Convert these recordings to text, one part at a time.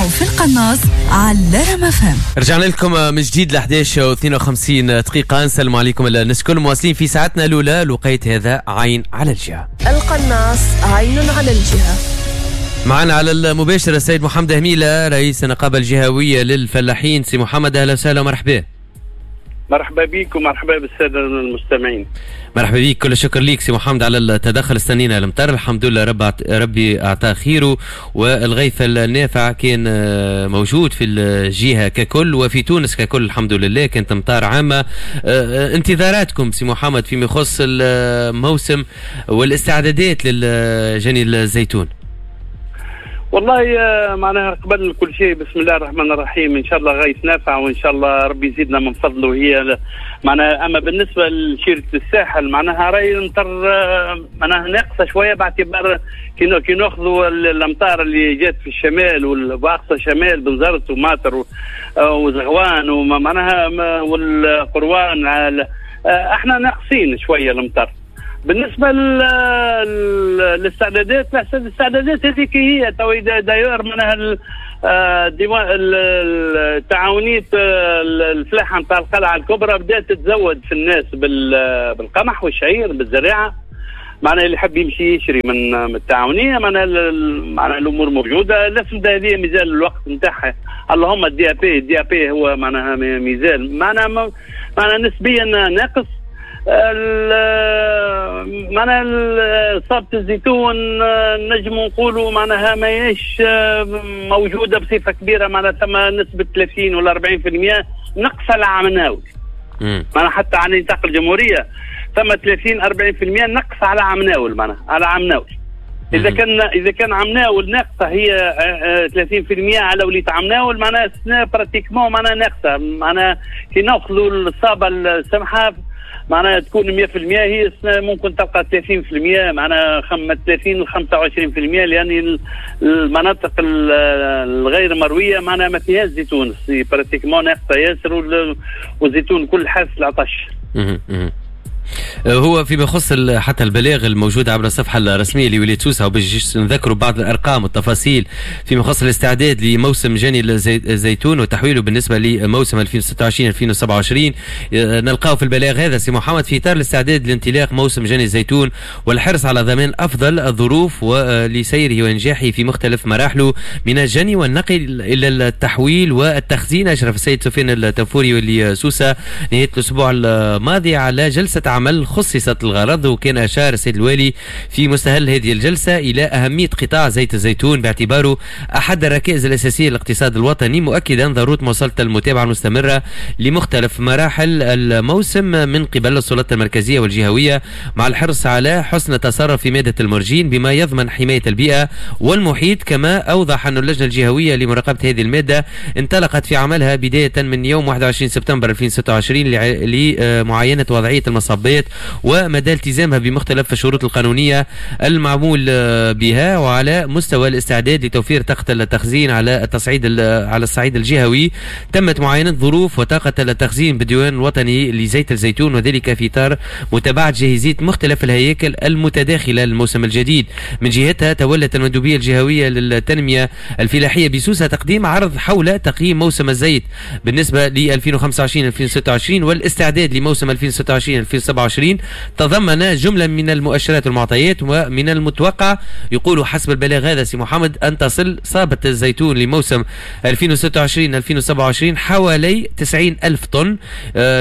تسمعوا في القناص على رام FM. رجعنا لكم من جديد ل 11 و52 دقيقة. نسلم عليكم الناس الكل، مواصلين في ساعتنا الأولى. الوقيت هذا عين على الجهة. القناص عين على الجهة. معنا على المباشر السيد محمد هميلة، رئيس النقابة الجهوية للفلاحين. سي محمد، أهلا وسهلا ومرحبا. مرحبا بك ومرحبا بالسادة المستمعين. مرحبا بك، كل الشكر ليك سي محمد على التدخل. استنينا المطر، الحمد لله ربي اعطاه خيره، والغيث النافع كان موجود في الجهة ككل وفي تونس ككل، الحمد لله كانت امطار عامه. انتظاراتكم سي محمد فيما يخص الموسم والاستعدادات للجني الزيتون؟ والله معناها قبل كل شيء، بسم الله الرحمن الرحيم، ان شاء الله غيث نافع وان شاء الله ربي يزيدنا من فضله. هي معناها اما بالنسبة لشيره الساحل، معناها راي المطر معناها ناقصه شويه، باعتبار كي ناخذوا الامطار اللي جات في الشمال واقصى الشمال، بنزرت وماطر وزغوان ومعناها والقروان، احنا ناقصين شوية المطر. بالنسبة للاستعدادات، الاستعدادات هذيك هي تو d'ailleurs معناها ديوان التعاونية الفلاحة نتاع القلعة الكبرى بدات تتزود في الناس بالقمح والشعير، بالزريعه، معناها اللي يحب يمشي يشري من التعاونيه، معناها الامور موجوده. الاسمده هذه مازال الوقت نتاعها، اللهم ال DAP، ال DAP هو معناها مازال معناها نسبيا ناقص. معناها صابة الزيتون نجم نقولوا معناها ماهيش موجودة بصفة كبيرة، معناها ثم نسبة 30 ولا 40% نقص على عام ناول. معناها حتى على نطاق الجمهورية ثم 30 40% نقص على عام ناول، معناها على عام ناول. اذا كان عام ناول ناقصه هي 30% على وليت عام ناول، معناها السنة pratiquement معناها ناقصه. معناها كي ناخذوا الصابه السمحة معناها تكون 100%، هي السنة ممكن تلقى 30%، معناها 30 ل 25%، لان المناطق الغير مرويه معناها ما فيهاش زيتون، pratiquement ناقصه ياسر، والزيتون كل حاس العطش. هو فيما يخص حتى البلاغ الموجود عبر الصفحة الرسمية لولاية سوسة، وباش نذكروا بعض الأرقام والتفاصيل فيما يخص الاستعداد لموسم جني الزيتون وتحويله بالنسبة لموسم 2026 2027، نلقاه في البلاغ هذا سي محمد: في إطار الاستعداد لانطلاق موسم جني الزيتون والحرص على ضمان أفضل الظروف ولسيره وإنجاحه في مختلف مراحله من الجني والنقل إلى التحويل والتخزين، أشرف السيد سفيان التنفوري والي سوسة نهاية الأسبوع الماضي على جلسة عمل خصصت الغرض. وكان أشار السيد الوالي في مستهل هذه الجلسة إلى أهمية قطاع زيت الزيتون باعتباره أحد الركائز الأساسية للاقتصاد الوطني، مؤكدا ضرورة مواصلة المتابعة المستمرة لمختلف مراحل الموسم من قبل السلطات المركزية والجهوية، مع الحرص على حسن التصرف في مادة المرجين بما يضمن حماية البيئة والمحيط. كما أوضح أن اللجنة الجهوية لمراقبة هذه المادة انطلقت في عملها بداية من يوم 21 سبتمبر 2026 لمعاينة وضعية المصبات ومدى التزامها بمختلف الشروط القانونية المعمول بها. وعلى مستوى الاستعداد لتوفير طاقة التخزين على الصعيد الجهوي، تمت معاينة ظروف وطاقة التخزين بالديوان الوطني لزيت الزيتون، وذلك في إطار متابعة جاهزية مختلف الهياكل المتداخلة للموسم الجديد. من جهتها، تولت المندوبية الجهوية للتنمية الفلاحية بسوسة تقديم عرض حول تقييم موسم الزيت بالنسبة ل 2025 2026 والاستعداد لموسم 2026 2027، تضمن جملة من المؤشرات والمعطيات. ومن المتوقع، يقول حسب البلاغ هذا سي محمد، أن تصل صابة الزيتون لموسم 2026 2027 حوالي 90 ألف طن،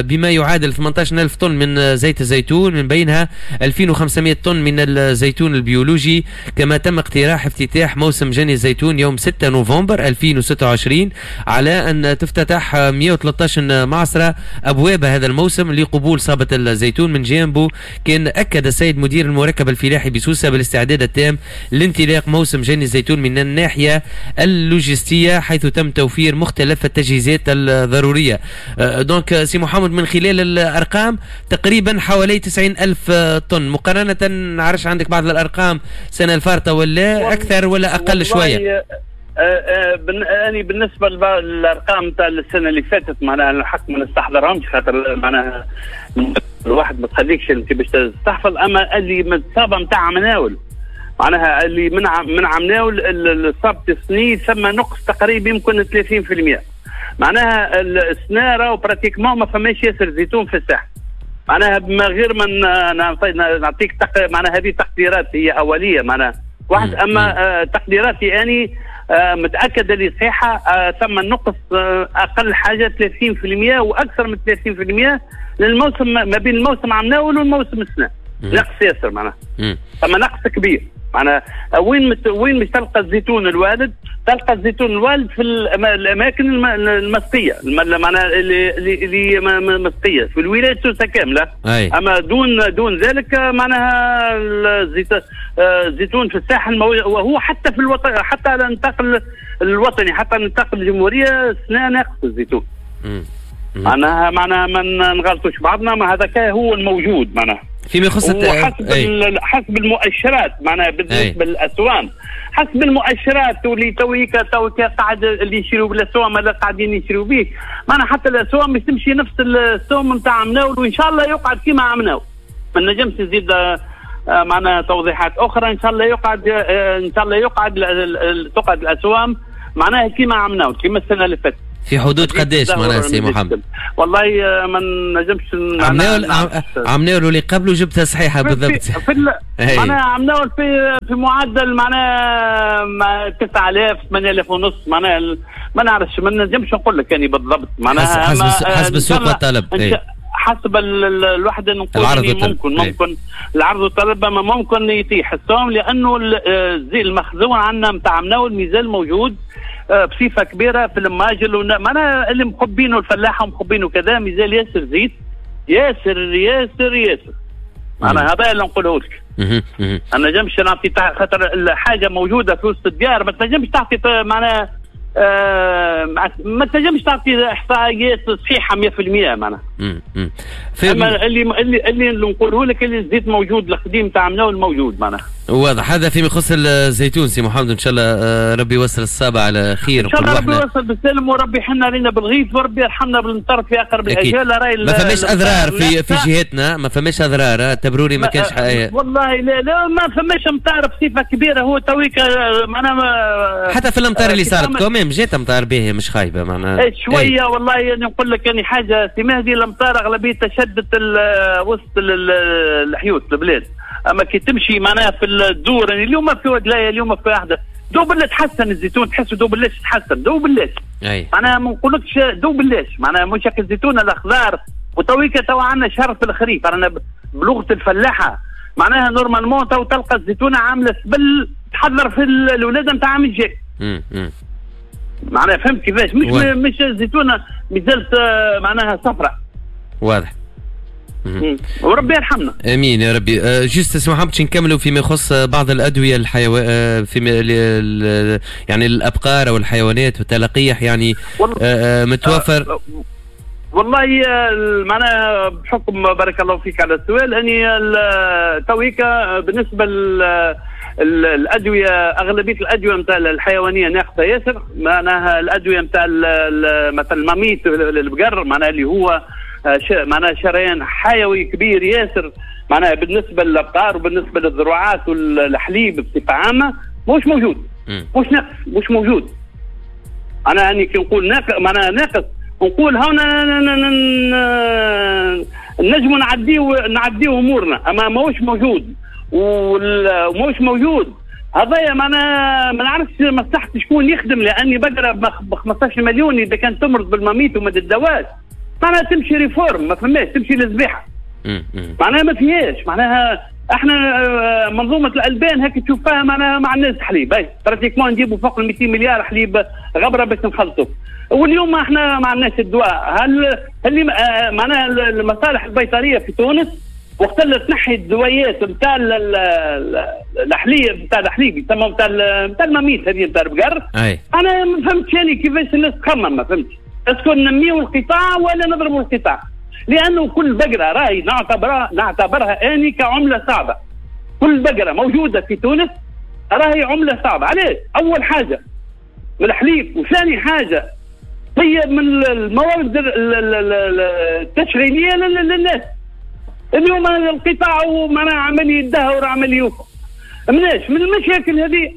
بما يعادل 18 ألف طن من زيت الزيتون، من بينها 2500 طن من الزيتون البيولوجي. كما تم اقتراح افتتاح موسم جني الزيتون يوم 6 نوفمبر 2026، على أن تفتتح 113 معصرة أبواب هذا الموسم لقبول صابة الزيتون. من جانبه، كان أكد السيد مدير المركب الفلاحي بسوسة بالاستعداد التام لانطلاق موسم جني الزيتون من الناحية اللوجستية، حيث تم توفير مختلف التجهيزات الضرورية. Donc سي محمد، من خلال الأرقام تقريبا حوالي 90 ألف طن، مقارنة نعرفش عندك بعض الأرقام سنة الفارطة ولا أكثر ولا أقل شوية؟ أنا بالنسبة للارقام تاع السنة اللي فاتت معناها الحق ما نستحضرهمش، خاطر معناها الواحد ما تخليكش انت باش تستحفظ. اما اللي من الصابه نتاع عام ناول معناها اللي من عمناول الصابة السني ثم نقص تقريبا يمكن 30%. معناها السنة راهو pratiquement ما فماش ياسر زيتون في الساحة. معناها بما غير ما نعطيك معناها هذه تقديرات هي اوليه معناها واحد، اما تقديراتي اني متاكد اللي صحيحه، ثم نقص اقل حاجة 30% واكثر من 30% للموسم ما بين الموسم عمناول والموسم السنة. نقص ياسر معناها، ثم نقص كبير معناها. وين مش تلقى الزيتون الوالد؟ تلقى الزيتون الوالد في الاماكن المسقيه، معناها اللي مسقيه في الولاية سوسة كاملة. اما دون ذلك معناها الزيتون في الساحل، وهو حتى في الوطن، حتى على النطاق الوطني، حتى على نطاق الجمهورية السنة ناقص الزيتون. معناها ما نغلطوش بعضنا، ما هذا هو الموجود معناها. فيما يخص حسب المؤشرات معناها بالنسبة للاسوام، حسب المؤشرات واللي تويكا قاعد اللي يشريوا بالاسوام اللي قاعدين يشريوا به، معناها حتى الاسوام مش تمشي نفس السوم نتاع عمناول، وان شاء الله يقعد كيما عمناول. ما نجمش نزيد معناها توضيحات اخرى. ان شاء الله يقعد، ان شاء الله يقعد تقعد الاسوام معناها كيما عمناول، كيما السنة اللي فاتت. في حدود قداش معناها سي محمد؟ والله ما نجمش. عمناول واللي قبله جبتها صحيحه بالضبط. معناها عمناول في معدل معناها 9000 8000 ونص معناها، ما نعرفش، ما نجمش نقول لك يعني بالضبط معناها حسب السوق والطلب. حسب الوحدة نقول ممكن العرض والطلب، ما ممكن يطيح السوم لانه الزيت المخزون عندنا نتاع عمناول مازال موجود بصفة كبيرة في الماجل، معناها اللي مخبينه الفلاحة ومخبينه كذا، مازال ياسر زيت ياسر ياسر ياسر. معناها هذا اللي نقوله لك. انا نجمش نعطي خاطر الحاجة موجودة في وسط الديار، ما تنجمش تعطي معناها ما تنجمش تعطي احصائيات صحيحه 100% معناها. اما اللي نقوله لك اللي الزيت موجود القديم تاع عمناول موجود معناها. واضح. هذا فيما يخص الزيتون سي محمد، ان شاء الله ربي يوصل الصابع على خير. ان شاء الله ربي يوصل بالسلم، وربي يحن علينا بالغيث، وربي يرحمنا بالمطر في اقرب الاجال. راهي ما فماش اضرار في جهتنا، ما فماش اضرار تبروري، ما كانش والله لا لا ما فماش امطار بصفة كبيرة. هو تويك معناها حتى في الامطار اللي صارت quand même جات امطار باهيه مش خايبة معناها شوية. والله يعني نقول لك يعني حاجة سي مهدي، الامطار اغلبية تشدت وسط الحيوط البلاد، اما كي تمشي معناها في الدور يعني اليوم في ودلايه، اليوم في واحدة دوب اللي تحسن الزيتون، تحسه دوب اللي تحسن دوب اللي معناها ما نقولكش دوب اللي معناها مش هكا الزيتون الاخضر. وتويكا تو عندنا شهر في الخريف، رانا بلغه الفلاحة معناها normalement تو تلقى الزيتونه عامله سبل تحضر في الولادة نتاع عام الجاي. معناها فهمت كيفاش؟ مش الزيتونه مازالت معناها صفراء. واضح. وربي يرحمنا. امين يا ربي. juste سي محمد باش نكملوا فيما يخص بعض الادوية في يعني الابقار او الحيوانات والتلقيح يعني متوفر. والله معناها بحكم بارك الله فيك على السؤال، اني تويكا بالنسبة الادوية اغلبية الادوية نتاع الحيوانية ناقصه ياسر. معناها الادوية نتاع مثلا الماميت البقر معناها اللي هو معناها شريان حيوي كبير ياسر معناها بالنسبة للابقار وبالنسبة للذروعات والحليب بصفة عامة مش موجود، مش ناقص، مش موجود. انا يعني كي نقول ناقص معناها ناقص، نقول هنا نجموا نعديو امورنا، اما ماهوش موجود وماهوش موجود. هذايا معناها ما نعرفش مصلحة شكون يخدم، لاني بقرة ب 15 مليون اذا كان تمرض بالماميت وما تدواش معناها تمشي réforme، ما فماش، تمشي للذبيحه معناها ما فيهاش. معناها احنا منظومة الالبان هيك تشوفها معناها ما عندناش حليب، هاي pratiquement نجيبوا فوق ال 200 مليار حليب غبرة باش نخلطوا، واليوم احنا ما عندناش الدواء. هل اللي معناها المصالح البيطريه في تونس وقت اللي تنحي الدويات نتاع الحليب نتاع الحليب يسمى نتاع الماميت هذه نتاع البقر، انا ما فهمتش يعني كيفاش الناس تخمم، ما فهمتش est-ce que ننميو القطاع ولا نضربوا القطاع، لانه كل بقرة راهي نعتبرها اني كعمله صعبة. كل بقرة موجودة في تونس راهي عمله صعبة. علاش؟ اول حاجة من الحليب، وثاني حاجة هي من الموارد التشغيلية للناس. اليوم القطاع معناها عمال يدهور عمال يوقف. مناش من المشاكل هذه.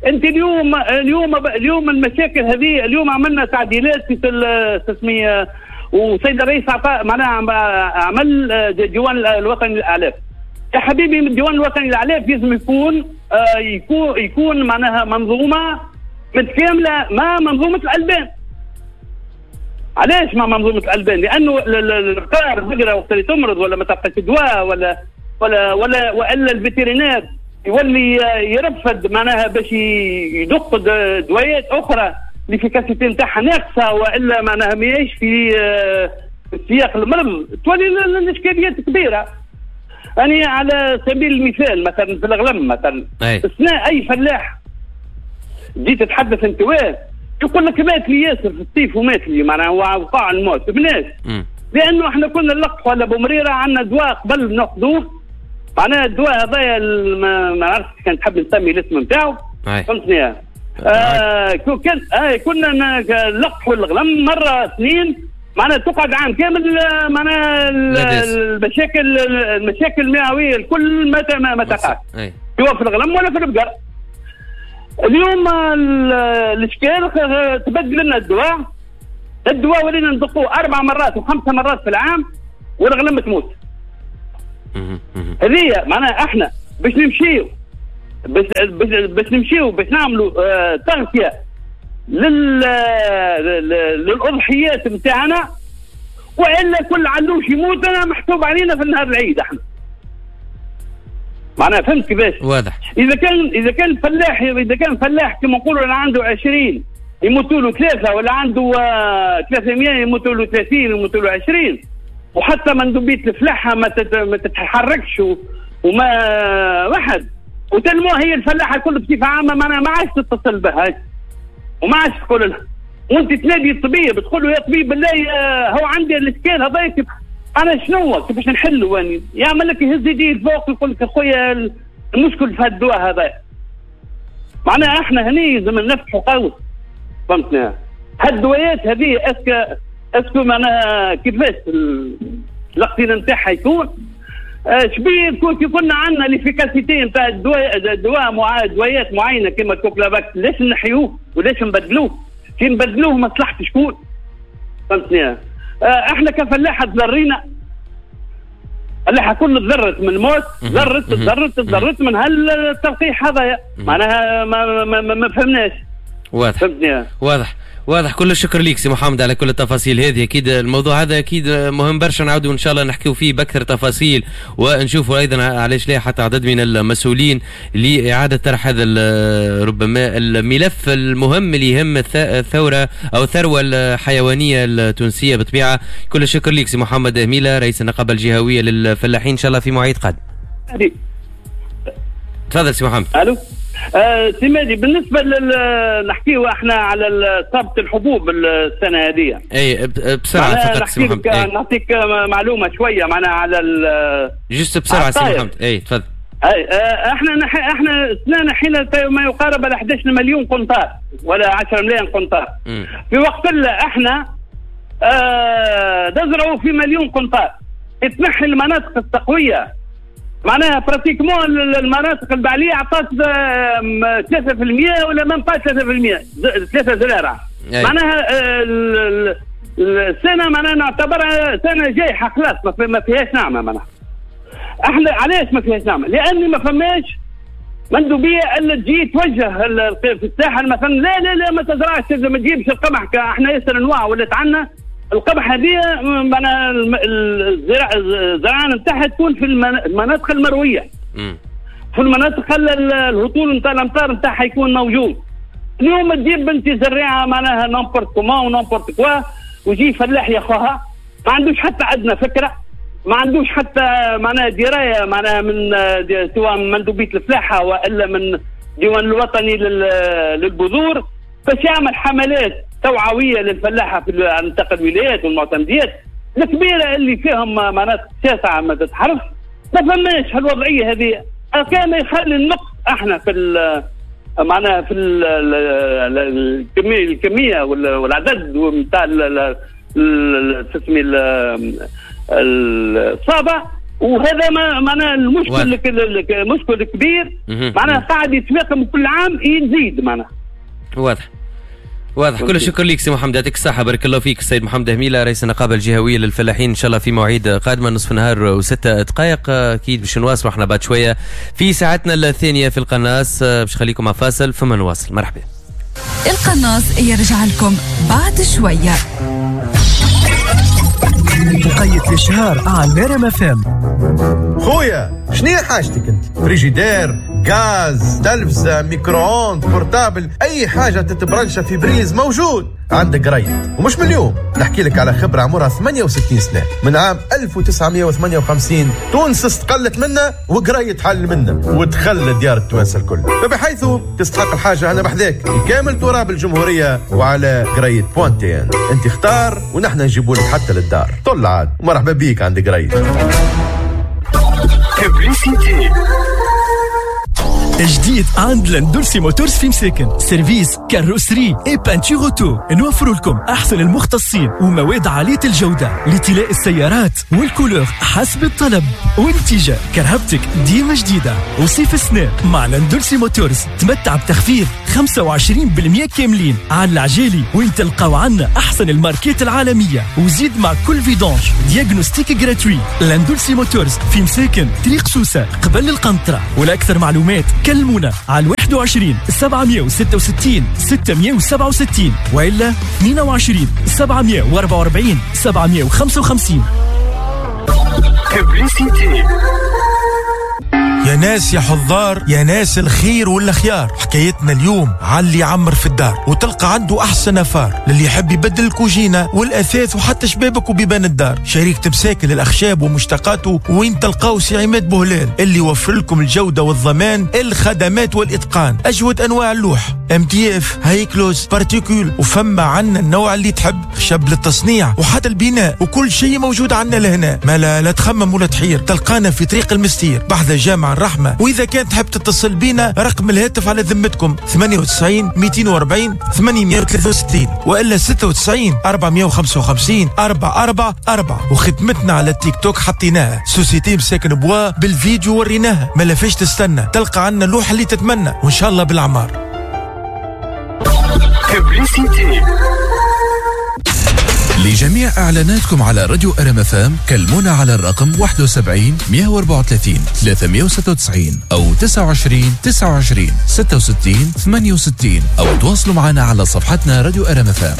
انت اليوم اليوم اليوم المشاكل هذه، اليوم عملنا تعديلات في التسمية، وسيد الرئيس اعطى معناها عمل الديوان الوطني للاعلاف. يا حبيبي الديوان الوطني للاعلاف لازم يكون معناها منظومة متكاملة مع منظومة الالبان. علاش مع منظومة الالبان؟ لانه القار البقرة وقت اللي تمرض ولا ما تلقاش دواء ولا ولا ولا والا ال vétérinaire يولي يرفض معناها باش يدق دوايات اخرى l'efficacité نتاعها ناقصه والا معناها ما يعيش في سياق المرض، تولي الاشكاليات كبيرة. يعني على سبيل المثال مثلا في الغلم مثلا اثناء اي فلاح جيت تتحدث انت وين يقول لك مات لي ياسر في الصيف ومات لي معناها وقع الموت بناس، لانه احنا كنا نلقحوا على بومريره عندنا دواء قبل ناخذوه، معناها الدواء هذايا ما عرفتش كان تحب نسمي الاسم نتاعو، فهمتني؟ كنا نلقحوا الغلم مرة اثنين معناها تقعد عام كامل، معناها المشاكل المعويه الكل ما تقعش سواء في الغلم ولا في البقر. اليوم الاشكال تبدل لنا الدواء ولينا ندقوه 4 مرات و5 مرات في العام والغلم تموت. هذه معناها احنا باش نمشيو باش نمشيو باش نعملوا تغطيه للاضحيات نتاعنا، والا كل علوش يموت انا محسوب علينا في النهار العيد احنا. معناها فهمت كيفاش؟ واضح. اذا كان فلاح كما نقولوا انا عنده 20 يموتوا له 3، ولا عنده 300 يموتوا له 30 يموتوا له 20، وحتى مندوبيه الفلاحة ما تتحركش وما واحد وتنمو هي الفلاحة الكل بصفة عامة معناها ما عادش تتصل بها وما عادش تقول لها، وانت تنادي الطبيب تقول له يا طبيب بالله هو عندي الاشكال هذا انا شنو كيفاش نحلو؟ يعني يعمل لك يهز يديه لفوق يقول لك اخويا المشكل في هالدواء هذا. معناها احنا هني لازم نفتحوا قوس، فهمتنا؟ هالدوايات هذه est-ce que معناها كيفاش الاقتناء نتاعها يكون؟ شبيه كي كنا عندنا l'efficacité نتاع الدواء دوايات معينة كيما الكوكلافاكس، ليش نحيوه وليش نبدلوه؟ كي نبدلوه مصلحة شكون؟ فهمتني؟ احنا كفلاحه تضرينا، الفلاحة كل تضرت من الموت، ضرت ضرت ضرت من هالتلقيح هذا، معناها ما, ما, ما, ما فهمناش. واضح. واضح واضح. كل الشكر ليك سي محمد على كل التفاصيل هذه. اكيد الموضوع هذا اكيد مهم برشا، نعاودوا ان شاء الله نحكيو فيه باكثر تفاصيل ونشوفوا ايضا علاش لا حتى عدد من المسؤولين لاعادة طرح هذا ربما الملف المهم اللي يهم الثورة او الثروة الحيوانية التونسية بالطبيعة. كل الشكر ليك سي محمد هميله رئيس النقابة الجهوية للفلاحين، ان شاء الله في مواعيد قادمة. تفضل سي محمد. الو سي مهدي، بالنسبة نحكيو احنا على صابه الحبوب السنة هذه. اي بسرعة فقط سي محمد. نعطيك معلومة شوية معناها على juste بسرعة سي محمد. اي تفضل. اي احنا السنة نحينا ما يقارب على 11 مليون قنطار ولا 10 ملايين قنطار. في وقت احنا نزرعوا في مليون قنطار. تنحي المناطق التقويه معناها pratiquement المناطق البعليه عطات 3% ولا même pas 3%، 3 زرارع. معناها السنة معناها نعتبرها سنة جايحه خلاص، ما فيهاش نعمه. معناها احنا علاش ما فيهاش نعمه؟ لان ما فماش مندوبيه الا تجي توجه في الساحل مثلا، لا لا لا ما تزرعش، ما تجيبش القمح، احنا ياسر انواع ولات عندنا القمح هذه معناها الزراعة نتاعها تكون في المناطق المروية. في المناطق الهطول نتاع الامطار نتاعها يكون موجود. اليوم تجيب بنتي زريعه معناها n'importe comment و n'importe quoi، ويجي فلاح ياخوها ما عندوش حتى عندنا فكرة، ما عندوش حتى معناها دراية معناها من سواء من مندوبيه الفلاحة والا من الديوان الوطني للبذور، باش يعمل حملات توعوية للفلاحه في نطاق الولايات والمعتمديات الكبيرة اللي فيهم مناطق شاسعه ما تتحرف. ما فماش هالوضعيه هذه، كان يخلي النقص احنا في معناها في الكمية والعدد نتاع تسمي الصابه وهذا معناها المشكل المشكل كبير معناها قاعد يتفاقم كل عام يزيد معناها. واضح واضح. كل الشكر لك سي محمد، يعطيك الصحة، بارك الله فيك. السيد محمد هميلة رئيس النقابة الجهوية للفلاحين. إن شاء الله في مواعيد قادمة 12:06 أكيد باش نواصلوا احنا بعد شوية في ساعتنا الثانية في القناص. باش نخليكم مع فاصل ثم نواصل. مرحبا. القناص يرجع لكم بعد شوية. وقيت الإشهار على نرم FM. خويا شنو حاجتك انت؟ فريجيدير، غاز، تلفزة، micro-ondes، portable، اي حاجة تتبرنشة في prise موجود عندك قريت. ومش من اليوم نحكي لك على خبرة عمرها 68 سنة، من عام 1958 تونس استقلت منا وقريت حل منا ودخل ديار التوانسة الكل، فبحيث تستحق الحاجة أنا بحذاك في كامل تراب الجمهورية وعلى قريت point tn. انت اختار ونحن نجيبوا لك حتى للدار. طل عاد ومرحبا بيك عند قريت. جديد عند لندولسي موتورز في مساكن، service carrosserie et peinture auto. نوفر لكم احسن المختصين ومواد عالية الجودة لطلاء السيارات وال couleur حسب الطلب، ونتيجة كرهبتك ديما جديدة. وصيف السنة مع لندولسي موتورز تمتع بتخفيض 25% كاملين على العجالي، وين تلقاو عنا احسن الماركات العالمية، وزيد مع كل vidange diagnostic gratuit. لندولسي موتورز في مساكن، طريق سوسة قبل القنطرة. ولاكثر معلومات كلمونا على 21 766 667 وإلا 22 744 755. يا ناس يا حضار، يا ناس الخير والخيار، حكايتنا اليوم على اللي يعمر في الدار وتلقى عنده احسن affaire، للي يحب يبدل الكوجينه والاثاث وحتى شبابك وبيبان الدار. شريك تمساك للاخشاب ومشتقاته، وين تلقاو سي عماد بوهلال اللي يوفر لكم الجودة والضمان، الخدمات والاتقان، اجود انواع اللوح، MDF، high gloss، particule، وفما عنا النوع اللي تحب، خشب للتصنيع وحتى البناء، وكل شيء موجود عنا لهنا. ما لا تخمم ولا تحير، تلقانا في طريق المستير بحذا جامع الرحمة. وإذا كان تحب تتصل بينا رقم الهاتف على ذمتكم 98 240 863 وإلا 96 455 444. وخدمتنا على التيك توك حطيناها société مساكن bois بالفيديو وريناها، ما لفاش تستنى، تلقى عنا اللوحة اللي تتمنى وإن شاء الله بالأعمار. لجميع إعلاناتكم على راديو RMFM كلمونا على الرقم 71 134 396 أو 29 29 66 68 أو تواصلوا معنا على صفحتنا راديو RMFM.